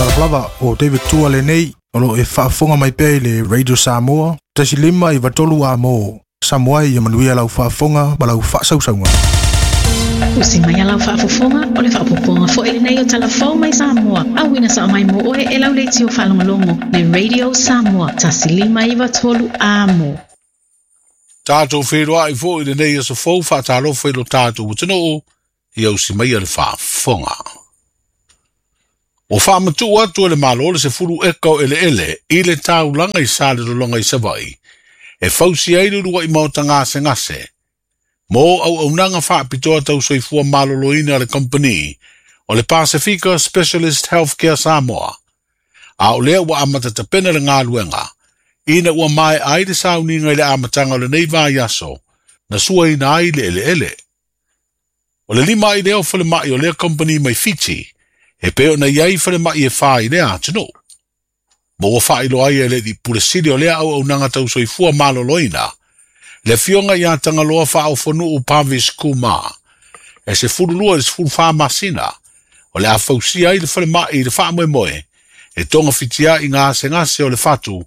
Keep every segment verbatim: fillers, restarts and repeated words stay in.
Talofa lava o David Tua lenei o lo e faafofoga mai pea i le Radio Samoa tasi lima iva tolu a mo Samoa ia manuia lau faafofoga ma lau faasausauga. Usi mai lau faafofoga o le faapopoga foi lenei o talafou mai Samoa. Auina sa mai mo oe e lau leitio faalogologo le Radio Samoa tasi lima iva tolu a mo. Tātou whenua i fo i lenei aso fou whaatalofa i lo tātou atunuu ia usi mai le faafofoga. O whaamatu atu e le malo le sefulu eka o ele ele i le taulaga i sa le lologa i Savaii e fausi ai le uluai maota gase gase. Mo au aunaga faapitoa tau soifua maloloina a le company o le Pasifika Specialist Healthcare Samoa. A o lea ua amata tapena le galuega ina ua mae ai le sauniga i le amataga o lenei vaiaso na suaina ai le eleele. O le lima ai lea o falemai o lea company mai Fiti e pei ona iai falemai e whā i lea atunuu. Mo ua whailo ai e le di pule sili o lea auaunaga tau soifua maloloina le afioga ia Tagaloa Faaofonuu Parvesh Kumar e sefululua i le sefulufa masina o le a fausia ai le falemai i le faamoemoe e togafitia i gasegase o le fatu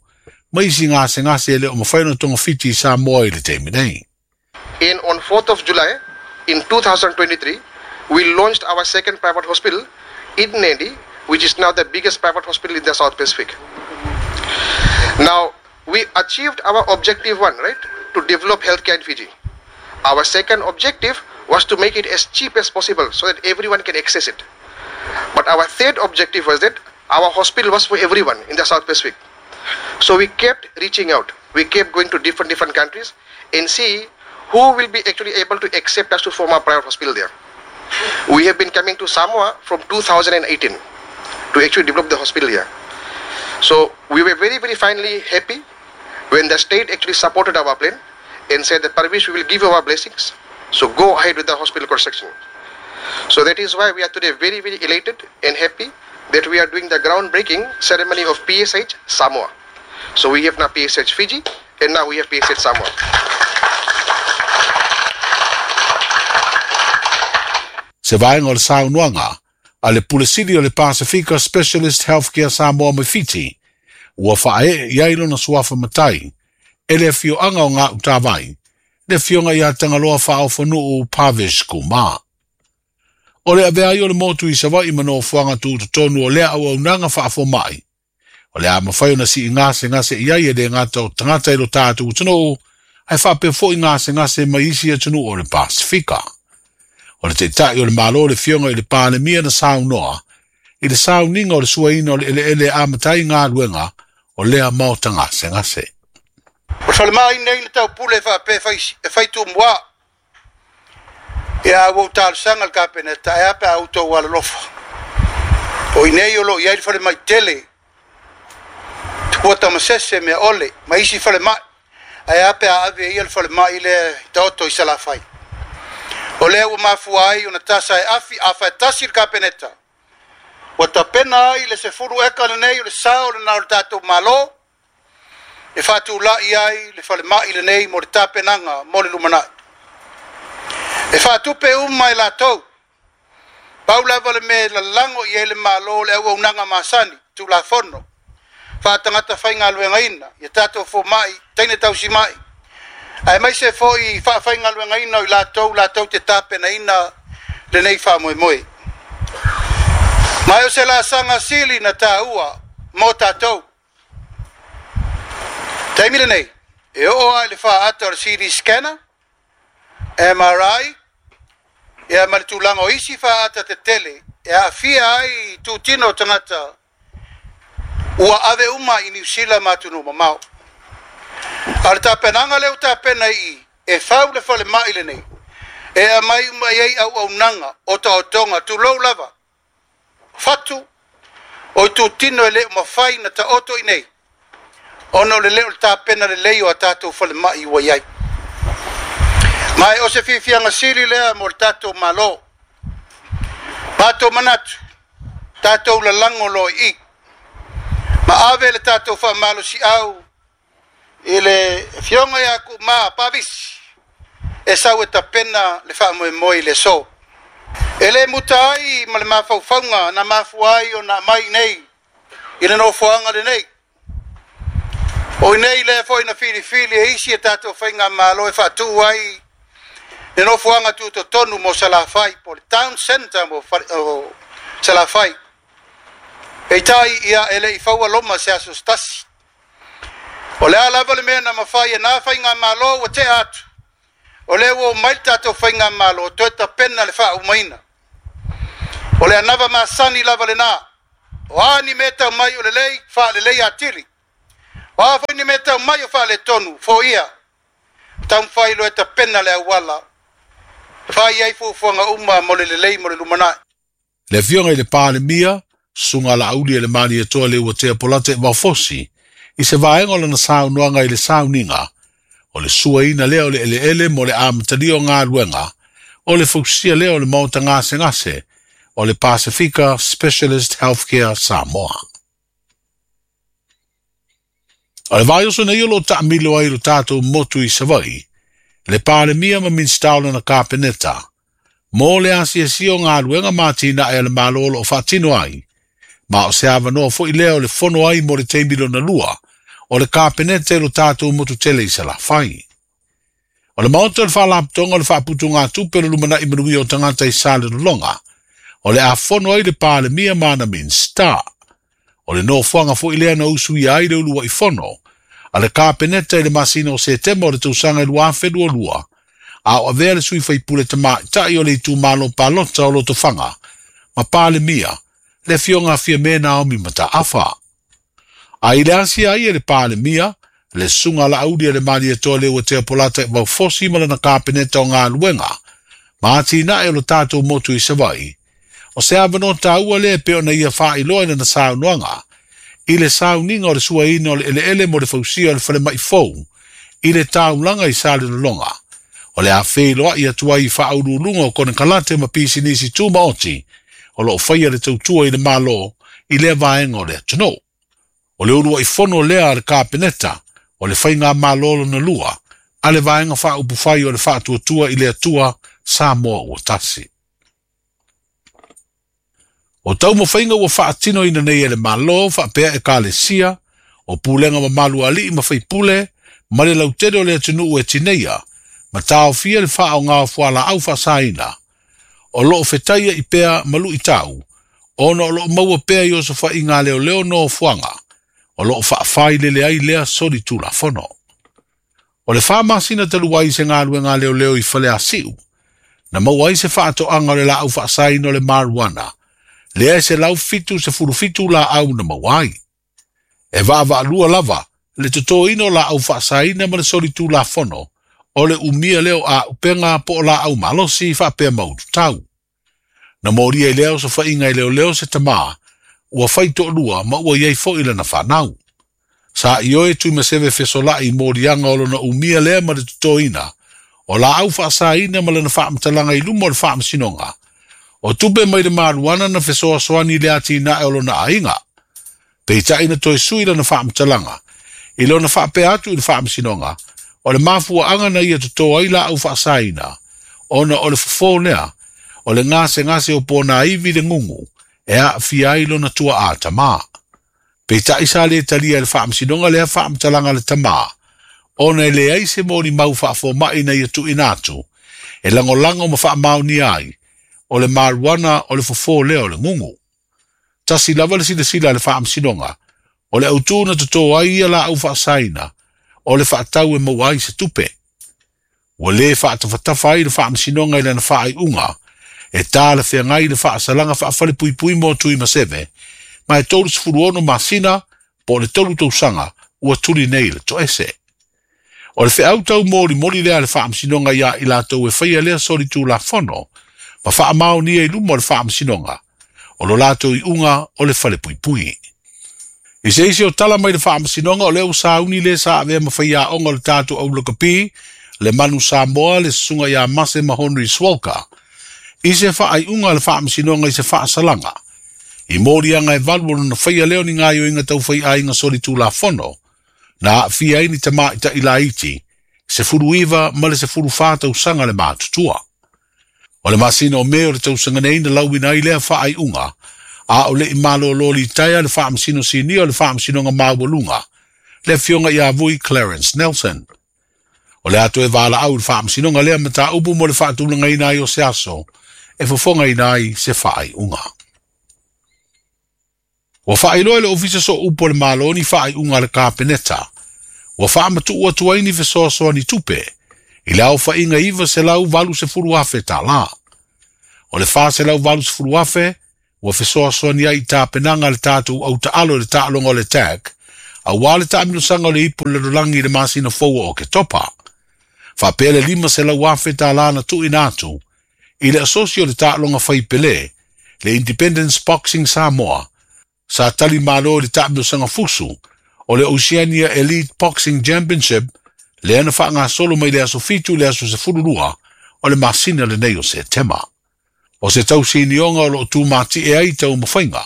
ma isi gasegase e le o mafai ona togafiti i Samoa i le taimi nei. In on fourth of July in two thousand twenty-three, we launched our second private hospital in Nadi, which is now the biggest private hospital in the South Pacific. Now, we achieved our objective one, right? To develop healthcare in Fiji. Our second objective was to make it as cheap as possible so that everyone can access it. But our third objective was that our hospital was for everyone in the South Pacific. So we kept reaching out. We kept going to different, different countries and see who will be actually able to accept us to form our private hospital there. We have been coming to Samoa from two thousand eighteen to actually develop the hospital here. So we were very, very finally happy when the state actually supported our plan and said that Parvesh, we will give you our blessings. So go ahead with the hospital construction. So that is why we are today very, very elated and happy that we are doing the groundbreaking ceremony of P S H Samoa. So we have now P S H Fiji and now we have P S H Samoa. Se vaenga o le saunoaga a le pule sili o le Pasifika Specialist Healthcare Samoa mai Fiti, ua whae i ai lona suafa matai, e le afioaga o ngā utawai, le afioga ia Tagaloa Faaofonuu Parvesh Kumar. O le avea ai o le motu i Savaii ma nofoaga tutotonu o lea auaunaga faafomai. O le a mafai ona sii gasegase i ai e le gata o tagata i lo tātou atunuu, ae faapea fo'i gasegase mai isi atunuu o le Pasifika. O le taitai o le malo le fioga i le Palemia na saunoa, i le sauniga o le suaina o le eleele amatai galuega o lea maota gasegase. O le falemai nei le taupule e faapea e faitumua. Ia ua ou talosaga le Kapeneta e a pe a outou alolofa. O i nei o loo i ai le falemai tele, tupua tamasese mea ole, ma isi falemai, ae a pe a ave ia le falemai lea i taoto i Salafai. O lea ua mafua ai ona tasa e afi a faatasi le Kapeneta. Ua tapena ai le sefulu eka lenei o le sao lena o le tatou Malo, e faatulai ai le falemai lenei mo le tapenaga mo le lumanai. E faatupe uma e latou, pau lava le mea lalago i ai le Malo le auaunaga masani, tulafono, faatagata faigaluegaina, ia tatou fomai, teine tausimai, ae maise fo'i faafaigaluegaina o i latou latou te tapenaina lenei faamoemoe. Ma e o se laasaga sili na tāua mo tatou. Taimi lenei, e oo ai le faaata o le C D scanner, M R I, ia ma le tulaga o isi faaata tetele e aafia ai tutino o tagata ua ave uma i Niu Sila ma atunuu mamao. A le tapenaga lea ua tapena i e fau le falemai lenei, e aumai uma i ai auaunaga o taotoga tulou lava, fatu o i tutino e le o mafai na taoto i nei, ona o le leo le tapena lelei o a tatou falemai ua i ai. Ma e o se fiafiaga sili lea mo le tatou Malo. Matou manatu, tatou lalago loa i i. Ma ave le tatou faamalosiau i le afioga ia Kumar Parvesh e sau e tapena le faamoemoe i le aso. E le muta ai ma le mafaufauga na mafua ai ona aumai nei I le nofoaga lenei. O i nei lea foi na filifili e isi e tatou faigamalo e faatu'u ai le nofoaga tutotonu mo Salafai po le town center mo o Salafai. Peitai ia e le'i faua loma se aso tasi. O le a lava le mea na mafai e nā faigamalo ua tea atu. O lea ua mai le tatou faigamalo toe tapena le faaumaina. O le anava masani lava lenā. O a ni mea tau mai o lelei, faalelei atili. O a foi ni mea tau mai o faaletonu, foia. Taumafai loa e tapena le auala. Fai ai fuafuaga uma mo le lelei mo le lumanai. Le afioga i le Palemia, susuga Laauli e le Malietoa Leuatea Polata Vaufosi, i se vaega o lana saunoaga i le sauniga, o le suaina lea o le eleele mo le amatalia o galuega, o le fausia lea o le maota gasegase, o le Pasifika Specialist Healthcare Samoa. O le vaiaso nei o lo o taamilo ai lo tatou motu i Savaii, le Palemia ma Minisita o lana Kapeneta, mo le asiasia o galuega ma atinae a le Malo o lo o faatino ai, ma o se avanoa foi lea o le fono ai mo le taimi lona lua, o le Kapeneta i lo tatou motu tele i Salafai. O le maota o le Faalapotopotoga o le Faaputugatupe o le Lumanai Manuia o Tagata i Salelologa, o le a fono ai le Palemia ma ana Minisita. O le nofoaga foi lea na usuia ai le uluai fono a le Kapeneta i le masina o Setema o le tausaga i lua afe lua lua, a o avea le sui faipule tamaitai o le itumalo palota o Lotofaga ma Palemia, le afioga a Fiame Naomi Mataafa. A i le asia ai e le Palemia, le susuga Laauli e le Malietoa Leuatea Polata Vaufosi ma lana Kapeneta o galuega, ma atinae o lo tatou motu i Savaii, o se avanoa taua lea pe ona ia faailoa i lana saunoaga, i le sauniga o le suaina o le eleele mo le fausia o le falemai fou, i le taulaga i Salelologa, o le a feiloai atu ai i faauluuluga o konekarate ma pisinisi tumaoti, o lo o faia le tautua i le Malo i lea vaega o le atunuu. O le uluai fono lea a le Kapeneta, o le faigamalo lona lua, a le vaega faaupufai o le faatuatua i le Atua Samoa ua tasi. O taumafaiga ua faatinoina nei e le Malo faapea ekalesia, o pulega mamalu a alii ma faipule, ma le lautele o le atunuu e tineia, ma taofia le faaoga o fualaau faasaina. O loo fetaia i pea ma luitau, ona o loo maua pea i osofaiga leoleo nofoaga, o loo faafailele ai lea solitulafono. O le fa masina talu ai se galuega leoleo i Faleasiu, na maua ai se faatoaga o le laau faasaina o le marijuana, lea e selau fitu sefulu fitu laau na maua ai. E vaavaalua lava le totoina o laau faasaina ma le solitulafono, o le umia lea o auupega po o laau malosi faapea maututau. Na molia i lea osofaiga i leoleo se tamā, ua fai toalua ma ua iai foi lana fanau. Sa ioe Tuimaseve fesolai i moliaga o lona umia lea ma le totoina, o laau faasaina ma lana faamatalaga i luma o le faamasinoga, o tupe mai le marijuana na fesoasoani le atinae o lona aiga. Peitai na toe sui lana faamatalaga, i lona faapea atu i le faamasinoga, o le mafuaaga na ia toto ai laau faasaina, ona o le fofo lea, o le gasegase o ponaivi le gugu, e aafia ai lona tuaa tamā. Peitai sa le talia i le faamasinoga lea faamatalaga le tamā, ona e leai se molimau faafoma'i na ia tuuina atu, e lagolago ma faamaonia ai, o le marijuana o le fofo lea o le gugu. Tasi lava le silasila a le faamasinoga, o le autū na toto ai ia laau faasaina, o le faatau e maua ai se tupe. Ua lē faatafatafa ai le faamasinoga i lana faaiuga, e talafeagai le faasalaga faafalepuipui mo Tuimaseve, ma e tolu sefulu ono masina po o le tolu tausaga ua tuli nei le toese. O le feau taumolimoli lea a le faamasinoga iā i latou e faia lea solitulafono, ma faamaonia i luma o le faamasinoga, o lo latou iuga o le falepuipui. I se isi o tala mai le faamasinoga o lea ua sauni le sa avea ma faiaoga o le tatou au lakapi, le Manu Samoa, le susuga ia Mase ma Henry Swalka, i se faaiuga a le faamasinoga i se faasalaga, i moliaga e valu o lona faia lea o ni gaoioiga taufaiaiga solitulafono, na aafia ai ni tamaita'i laiti, sefulu iva ma le sefulu fa tausaga le matutua. O le masina o Me o le tausaga nei na lauina ai lea faaiuga, A o le i malōlō litaea le Faamasino Sinia o le Faamasinoga Maualuga, le Afioga ia Vui Clarence Nelson. O le a toe valaau i le Faamasinoga lea mataupu mo le faatulagaina ai o se aso e fofogaina ai se faaiuga. Ua faailoa e le Ofisa Sooupu o le Malo ni faaiuga a le Kapeneta ua faamatuu atu ai ni fesoasoani tupe i le aofaiga iva selau valu sefulu afe tālā. O le fa selau valu sefulu afe ua fesoasoani ai i tapenaga a le tatou autaalo i le taaloga o le T A C auā le taamilosaga o le Ipu o le Lalolagi i le masina fou o Oketopa. Faapea le lima selau afe tālā na tuuina atu i le asosi o le taaloga faipelē, le Independence Boxing Samoa, sa tali malo i le taamilosaga fusu o le Oceania Elite Boxing Championship lea na faagasolo mai le aso fitu i le aso sefulu lua o le masina lenei o Setema. O se tausinioga o loo tumati'e ai taumafaiga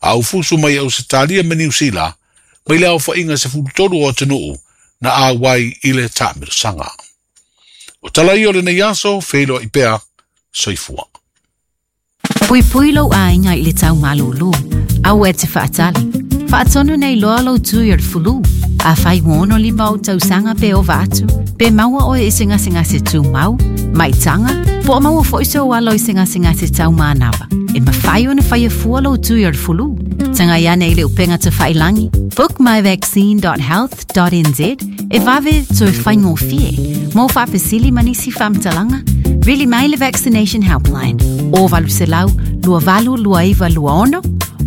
a ufusu mai Ausetalia ma Niusila mai le aofaiga sefulu tolu o atunuu na auai i le taamilosaga. O tala ia o lenei aso, feiloai pea, soifua. Puipui lou aiga i le tau malūlū. Aua e te faatali. Faatonu nei loa lou tui o le fulu. Afai ua ono lima ou tausaga pe ova atu, pe maua oe i se gasegase tumau, maitaga, po o maua foi sou alo i se gasegase taumanava. E mafai ona faia fua lou tui o le fulu. Tagai ane i le upega tafailagi, bookmyvaccine dot health dot N Z e vave toe faigofie. Mo faafesili ma nisi faamatalaga, vili mai le Vaccination Helpline o valu selau lua valu lua iva lua ono,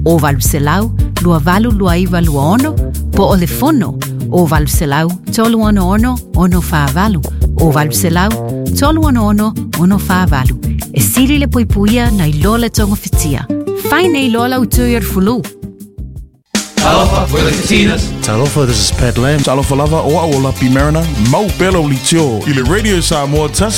o valu selau lua valu lua iva lua ono, po o le fono o valu selau tolu ono ono ono fa valu, o valu selau tolu ono ono ono fa valu. E sili le puipuia nai lo le togofitia. Fai nei loa lau tui o le fulu. Talofa, we're the Katinas. Talofa, this is Pat Lam. Talofa lava, o au o Lapi Mariner. Mau pea lau leitio i le Radio Samoa tasi.